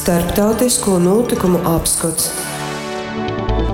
Starptautisko nūtykumu apskots.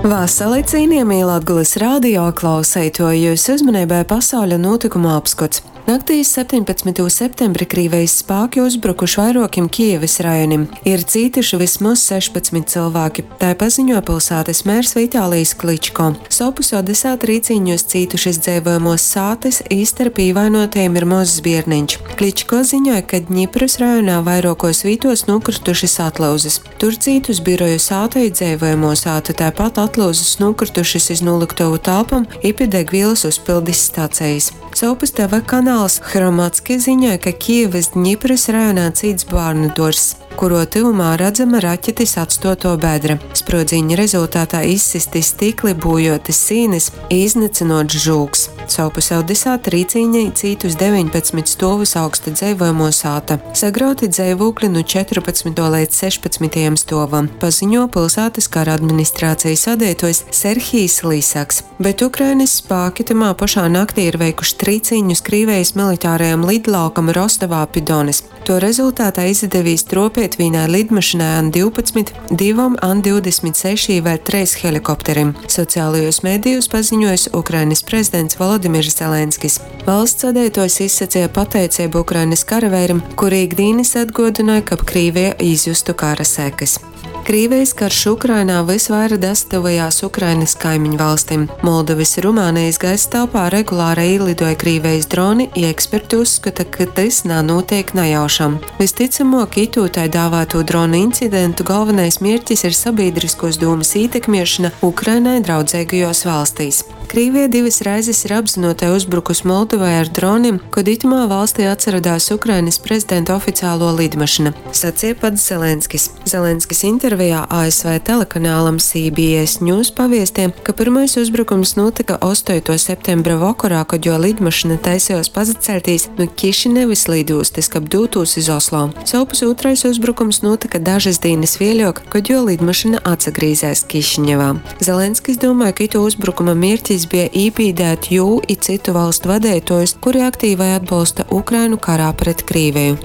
Vasali, cienījamie Latgulas radio klauseitoji, jūsu uzmanībai pasauļa nūtykumu apskots. Naktī iz 17. septembri Krīvejis spāki uzbrukuši vairuokim Kijevys rajonim. Ir cītuši vysmoz 16 cylvāki, tai paziņuoja pylsātys mērs Vitālijs Kličko. Sovpus Odesā trīcīņūs cītušys dzeivojamuos sātys, i starp īvainuotajim ir mozs bierneņš. Kličko ziņoja, ka Dņiprys rajonā vairuokuos vītuos nūkrytušys atlyuzys. Tur cītus biroju sāta i dzeivojamuo sāta, taipat atlyuzys nūkrytušys iz nūlyktovu telpom i pi degvīlys uzpildis stacejis. Sovpus TV kanals Hromadske ziņoj, ka Kijevys Dņiprys rajonā cīts bārnuduorzs, kuruo tyvumā radzama raķetis atstuotuo bedre. Spruodzīņa rezultatā izsysti stykli, būjuotys sīnys i iznycynuots žūgs. Sovpus Odesā trīcīnī cītus 19 stuovus augsta dzeivojamuo sāta. Sagrauti dzeivūkli nu 14. leidz 16. stuovam, paziņo pylsātys kara administrācejis vadeituojs Serhijs Lisaks. Bet Ukrainys spāki tymā pošā naktī ir veikuši trīcīņus Krīvejis militārajam lidlaukam Rostovā pi Donys. Tuo rezultātā izadevīs truopeit vīnai lidmašynai An-12, divom An-26 i vēļ treis helikopterim, socialajūs medijūs paziņuojs Ukrainys prezidents Volodimirs Zelenskis. Valsts vadeituojs izsaceja pateiceibu Ukrainys karaveirim, kuri ik dīnys atguodynoj, kab Krīveja izjustu kara sekys. Krīvejis karš Ukrainā vys vaira dasatyvojās Ukrainys kaimiņvalstim. Moldovys i Rumānejis gaisa telpā regulārai īlidoj Krīvejis droni i eksperti uzskota, ka tys nanūteik najaušam. Vystycamuok, itū tai dāvātū dronu incidentu golvonais mierķis ir sabīdryskuos dūmys ītekmiešona Ukrainai draudzeigajos valstīs. Krīvija divys reizis ir apzynuotai uzbrukus Moldovai ar dronim, kod itymā valstī atsarodās Ukrainys prezidenta oficiāluo lidmašyna, saceja pats Zelenskis. Zelenskis intervejā ASV telekanalam CBS News paviesteja, ka pyrmais uzbrukums nūtyka ostoituo septembra vokorā, kod juo lidmašyna taisejuos pasaceļtīs nu Kišinevys lidūstys, kab dūtūs iz Oslo. Sovpus ūtrais uzbrukums nūtyka dažys dīnys vieļuok, kod juo lidmašyna atsagrīzēs Kišiņevā. Zelenskis dūmoj, ka ituo uzbrukuma mierķis beja ībīdēt jū i cytu valstu vadeituojus, kuri aktīvai atbolsta Ukrainu karā pret Krīveju.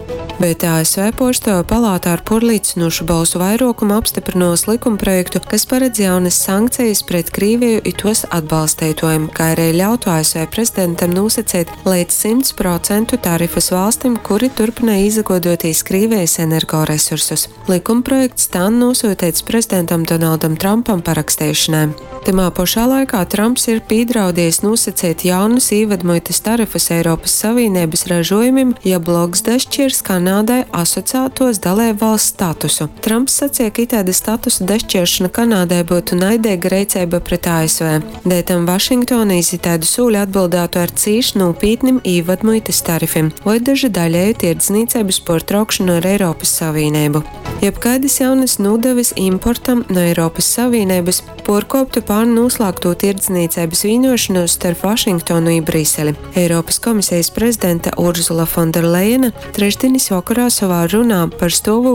Bet ASV Puorstuovu palāta ar puorlīcynūšu bolsu vairuokumu apstyprynuos lykumprojektu, kas paredz jaunys sankcejis pret Krīveju i tuos atbalsteituojim, kai ari ļautu ASV prezidentam nūsaceit leidz 100% tarifus valstim, kuri turpynoj īsaguoduotīs Krīvejis energoresursus. Lykumprojekts tān nūsyuteits prezidentam Donaldam Trampam paraksteišonai. Tymā pošā laikā Tramps ir pīdraudiejs nūsaceit jaunus īvadmuitys tarifus Eiropys Savīneibys ražuojumim, ja bloks daščiers Kanādai asociātuos daleibvalsts statusu. Tramps saceja, ka itaida statusa daščieršona Kanādai byutu naideiga reiceiba pret ASV. Deļtam Vašingtona iz itaidu sūli atbyldātu ar cīš nūpītnim īvadmuitys tarifim voi daže daļeju tierdznīceibys puortraukšonu ar Eiropys Savīneibu. Jebkaidys jaunys nūdavys importam nu Eiropys Savīneibys puorkuoptu pārn nūslāgtū tierdznīceibys vīnuošonūs starp Vašingtonu i Briseli. Eiropys Komisejis prezidente Urzula Fonderlejena trešdinis vokorā sovā runā par stuovūkli.